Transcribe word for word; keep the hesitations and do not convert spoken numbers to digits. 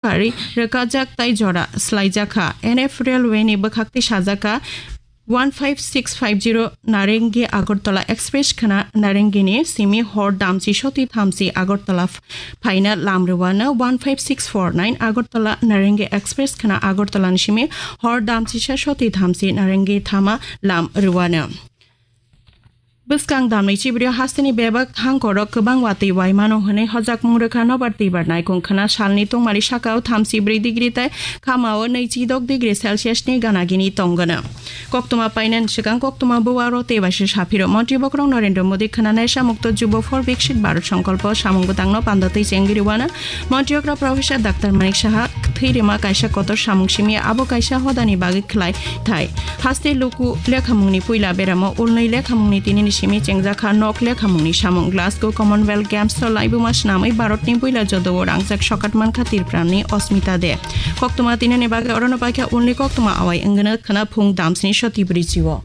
Kari rwkajak tai jora swlaijakha. N F Railway ni bwkhak twi sajakha one five six five zero Narengi Agartala Express khwna Narengini simi hor damchi soti thamchi Agartala phaina lam rwano. One five six four nine Agartala Narengi Express khwna Agartala ni simi hor damchisa soti thamchi Narengi thama lam rwano. Bwskang damni chibrio hasteni bebak thangkorok kwbang watwi waimano hwnwi hojakmung rwkha nobar twibar naikung khwna salni tungmali sakao thamchi bwrwi degree tei khamao nwichi dok degree Celsius ni ganagini tongwno. Koktwma painani swkang koktwma buwaro tei baisa saphiro Montri bokrok Narendra Modi khwna Nesha Mukto Jubo for Viksit Bharat Sankalpo samung bwtangno panda twi chengwi rwano. Montri okra Professor Doctor Manik Saha thwi rima kaisa kotor samung simi abo kaisa hodani bagwi khlai thai. Haste luku lekhamungni puila beramo ulnwi lekhamungni tinini simi chengjakha nok lekhamungni samung. Glasgow Commonwealth Games o laibuma swnamwi Bharatni puila jodao rangjak sokat mankha Tripurani Osmita De. Koktwma tinini bagwi orono paikha ulni koktwma awai wngwno khwna phung damsni soti bwrwi chio.